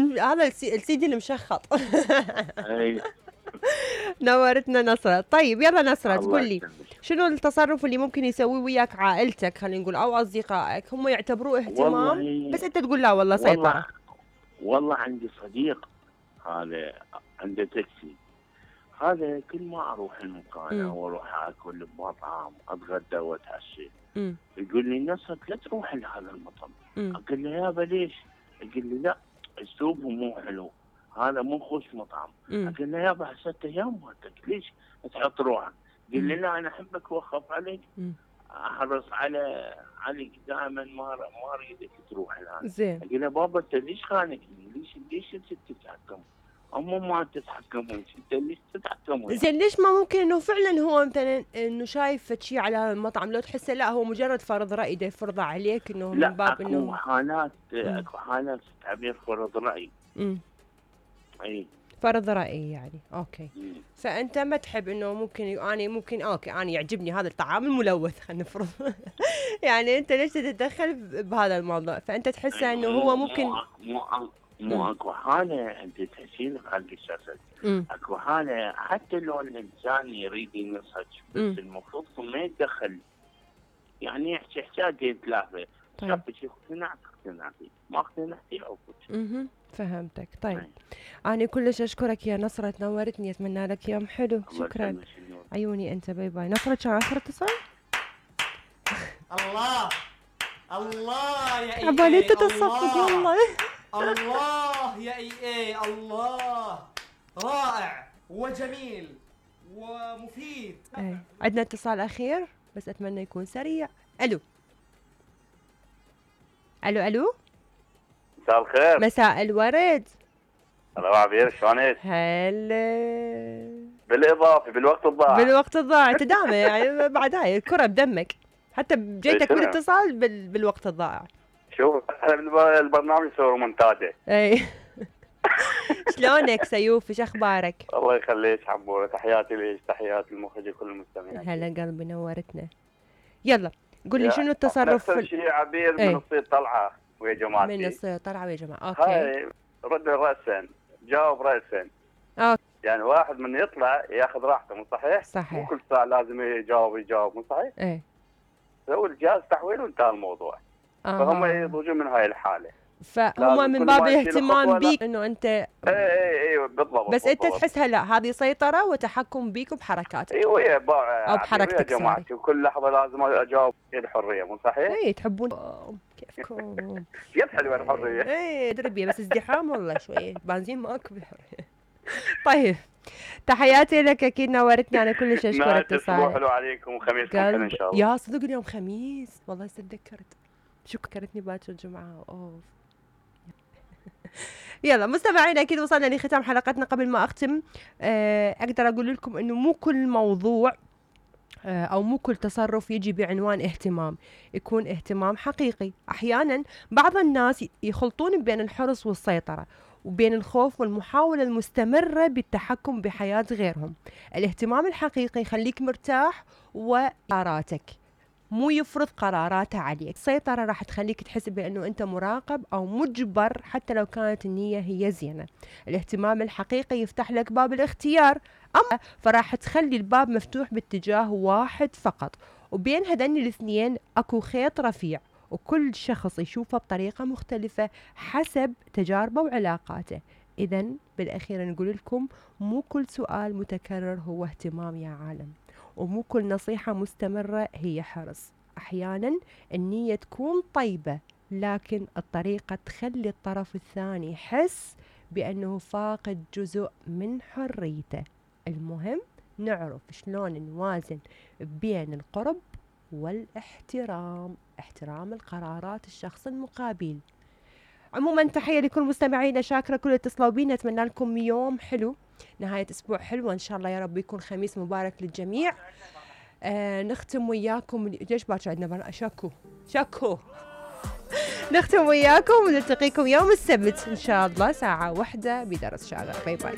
هذا السيدي المشخط. اي نورتنا نصرة. طيب يلا نصرة، الله تقول لي يسلمك. شنو التصرف اللي ممكن يسويه وياك عائلتك خلينا نقول او اصدقائك هم يعتبروه اهتمام والله بس انت تقول لا والله سيطرة؟ والله عندي صديق هذا عنده تاكسي، هذا كل ما اروح المكان او اروح اكل بمطعم اتغدى واتعشى يقول لي نصر لا تروح لهذا المطعم. اقول له يابا ليش؟ يقول لي لا اسلوبه مو حلو، هذا مو خوش مطعم. اقول له يابا هسه ايام مالتك ليش تحط روحك؟ قال لي لا انا احبك واخاف عليك، احرص عليك دائما ما اريدك تروح الان. زين. اقول له بابا انت ليش خانقني؟ ليش انت تتحكم؟ هم ما تتحكمون، انت ليش تتحكمون؟ زين ليش ما ممكن انه فعلا هو مثلا انه شايف شيء على المطعم لو تحسه لا هو مجرد فرض راي ده يفرضه عليك انه من باب انه اكو حالات تعبير فرض راي. اي فرض رأي يعني. اوكي. فانت ما تحب انه ممكن اوكي انا يعجبني هذا الطعام الملوث خلينا نفرض. يعني انت ليش تتدخل بهذا الموضوع؟ فانت تحسه انه هو ممكن مو اكو حاله انت تحكين خلق الشخص، اكو حاله حتى لو الانسان يريد ينصح بس المفروض ما يتدخل، يعني يحكي حكايه ثلاثه. طيب اقتنعت ما اقتنعتي عقد. فهمتك. طيب أنا كلش أشكرك يا نصرة، نورتني، أتمنى لك يوم حلو. شكرا. عيوني أنت، باي باي. نصرة كان آخر اتصال. الله الله يا إيه عبالي تتصفق والله. الله يا إيه الله رائع وجميل ومفيد. عندنا اتصال أخير بس أتمنى يكون سريع. ألو ألو ألو. مساء الخير. مساء الورد. الله عبير شلونك؟ هلا. بالاضافه بالوقت الضائع انت دائما يعني بعد هاي الكره بدمك، حتى بجيتك بالاتصال بالوقت الضائع. شوف احنا البرنامج يسوي رومنتادا. اي. شلونك سيوف؟ ايش اخبارك؟ الله يخليك حبوره، تحياتي ليش، تحياتي المخرج وكل المستمعين. هلا قلبي، نورتنا. يلا قول لي شنو التصرف؟ نفس الشيء عبير من الصيد طلعه ويا جماعتي. من الصيد طلعه ويا جماعه. اوكي. هاي رد راسا جاوب راسا. اوكي. يعني واحد من يطلع ياخذ راحته، مو صحيح؟ صحيح. مو كل ساعه لازم يجاوب، مو صحيح؟ ايه. سوي الجهاز تحويل وانتهى الموضوع. فهم يضوجون من هاي الحاله. فهم من باب الاهتمام بيك انه انت. اي بالضبط. بس انت تحسها لا هذه سيطره وتحكم بيك وبحركاتك. ايوه او بحركتك. يا جماعتي وكل لحظه لازم اجاوب الحريه، مو صحيح؟ اي تحبون كيفكم. كيف حلوه الحريه؟ اي دربيه بس ازدحام والله شويه بنزين ماكو بالحريه. طيب تحياتي لك، اكيد نورتني، انا كلش اشكر اتصالك. حلو عليكم وخميسكم حلو ان شاء الله. يا صدق اليوم خميس والله هسه تذكرت، شكرتني باكر الجمعه. اوف. يلا مستمعينا اكيد وصلنا لختام حلقتنا. قبل ما اختم اقدر اقول لكم انه مو كل موضوع او مو كل تصرف يجي بعنوان اهتمام يكون اهتمام حقيقي. احيانا بعض الناس يخلطون بين الحرص والسيطرة وبين الخوف والمحاولة المستمرة بالتحكم بحياة غيرهم. الاهتمام الحقيقي يخليك مرتاح وقراراتك، مو يفرض قراراته عليك. السيطرة راح تخليك تحس بأنه أنت مراقب أو مجبر حتى لو كانت النية هي زينة. الاهتمام الحقيقي يفتح لك باب الاختيار، أما فراح تخلي الباب مفتوح باتجاه واحد فقط، وبين هذين الاثنين أكو خيط رفيع، وكل شخص يشوفه بطريقة مختلفة حسب تجاربه وعلاقاته. إذن بالأخير نقول لكم مو كل سؤال متكرر هو اهتمام يا عالم، ومو كل نصيحة مستمرة هي حرص. أحيانا النية تكون طيبة لكن الطريقة تخلي الطرف الثاني يحس بأنه فاقد جزء من حريته. المهم نعرف شلون نوازن بين القرب والاحترام، احترام القرارات الشخص المقابل. عموما تحية لكل مستمعينا، شاكرة كل اتصلوا بينا، اتمنى لكم يوم حلو، نهاية اسبوع حلوة ان شاء الله يا رب، يكون خميس مبارك للجميع. نختم وياكم ليش باكر عندنا شكو نختم وياكم ونلتقيكم يوم السبت ان شاء الله 1:00 بدرس شاغر. باي باي.